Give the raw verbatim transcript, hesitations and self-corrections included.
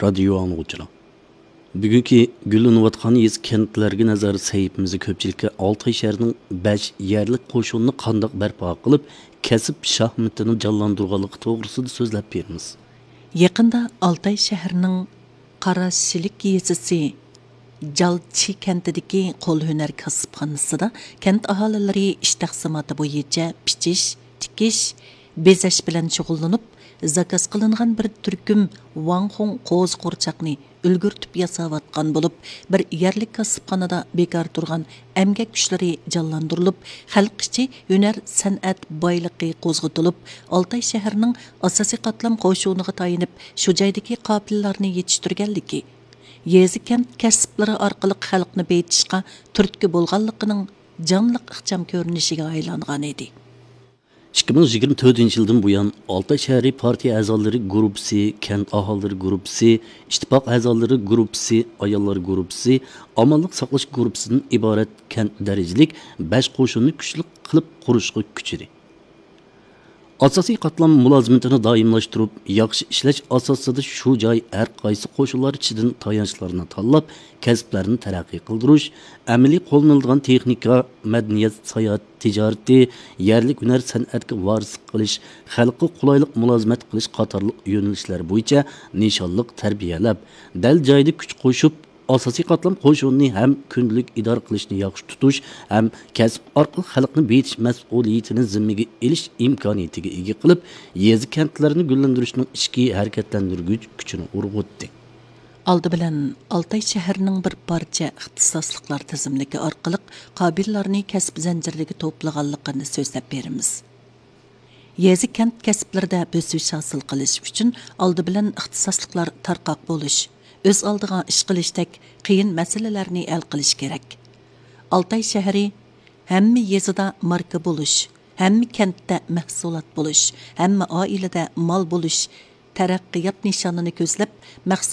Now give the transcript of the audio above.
رادىيو ئاڭلىغۇچىلار، بۈگۈنكى گۈللىنىۋاتقان يېزا كەنتلەرگە نەزەر سەھىپىمىزدە كۆپچىلىككە ئالتاي شەھىرىنىڭ بەش يەرلىك قوشۇنىنى قانداق بەرپا قىلىپ، كەسىپ شاھمىتىنى جانلاندۇرغانلىقى توغرىسىدا سۆزلەپ بېرىمىز. يېقىندا ئالتاي شەھىرىنىڭ قاراشىلىك يېزىسى جالچى كەنتىدىكى قول ھۈنەر كاسىپخانىسىدا كەنت ئاھالىلىرى ئىش تەقسىماتى بويىچە پىچىش، تىكىش، بېزەش بىلەن شۇغۇللىنىپ، زاكاز قىلىنغان بىر تۈركۈم ۋاڭخۇڭ قوزا قورچاقنى ئۈلگۈرتۈپ ياساۋاتقان بولۇپ، بىر يەرلىك كاسىپخانىدا بىكار تۇرغان ئەمگەك كۈچلىرى جانلاندۇرۇلۇپ، خەلق ئىچى ھۈنەر سەنئەت بايلىقى قوزغىتىلىپ، ئالتاي شەھىرىنىڭ ئاساسىي قاتلام قوشۇنىغا تايىنىپ، شۇ جايدىكى قاپىلىلەرنى يېتىشتۈرگەنلىكى، يېزا كەنت كەسىپلىرى ئارقىلىق خەلقنى بېيىتىشقا تۈرتكە بولغانلىقىنىڭ جانلىق ئىخچام كۆرۈنۈشىگە ئايلانغان ئىدى. ئىككى مىڭ يىگىرمە تۆتىنچى يىلدىن بۇيان، ئالتاي شەھىرى پارتىيە ئەزالىرى گۇرۇپپىسى، كەنت ئاھالىلىرى گۇرۇپپىسى، ئىتتىپاق ئەزالىرى گۇرۇپپىسى، ئاياللار گۇرۇپپىسى، ئامانلىق ساقلاش گۇرۇپپىسىدىن ئىبارەت كەنت دەرىجىلىك بەش قوشۇننى كۈچلۈك قىلىپ قۇرۇشقا كۈچىدى. ئاساسىي قاتلام مۇلازىمىتىنى دائىملاشتۇرۇپ، ياخشى ئىشلەش ئاساسىدا شۇ جاي ھەر قايسى قوشۇنلار ئىچىدىن تايانچلارنى تاللاپ، كەسىپلەرنى تەرەققىي قىلدۇرۇش، ئەمەلىي قوللىنىلىدىغان تېخنىكا، مەدەنىيەت، ساياھەت، تىجارىتى، يەرلىك ھۈنەر سەنئەتكە ۋارىسلىق قىلىش، خەلققە قولايلىق مۇلازىمەت قىلىش قاتارلىق يۆنىلىشلەر بويىچە نىشانلىق تەربىيەلەپ، دەل جايىدا كۈچ قوشۇپ، ئاساسىي قاتلام قوشۇنىنى ھەم كۈندىلىك ئىدارە قىلىشنى ياخشى تۇتۇش، ھەم كەسىپ ئارقىلىق خەلقنى بېيىتىش مەسئۇلىيىتىنى زىممىگە ئېلىش ئىمكانىيىتىگە ئىگە قىلىپ، يېزا كەنتلەرنى گۈللەندۈرۈشنىڭ ئىچكى ھەرىكەتلەندۈرگۈچ كۈچىنى ئۇرغۇتتى. ئالدى بىلەن ئالتاي شەھىرىنىڭ بىر پارچە ئىختىساسلىقلار تىزىملىكى ئارقىلىق قابىللارنى كەسىپ زەنجىرلىرىگە توپلىغانلىقىنى سۆزلەپ بېرىمىز. يېزا كەنت كەسىپلىرىدە بۆسۈش ھاسىل قىلىش ئۈچۈن ئالدى بىلەن ئىختىساسلىقلار تارقاق بولۇش، ئۆز ئالدىغا ئىش قىلىشتەك قىيىن مەسىلىلەرنى ھەل قىلىش كېرەك. ئالتاي شەھىرى ھەممە يېزىدا ماركا بولۇش، ھەممە كەنتتە مەھسۇلات بولۇش، ھەممە ئائىلىدە مال بولۇش تەرەققىيات نىشانىنى كۆزلەپ، مەخسۇس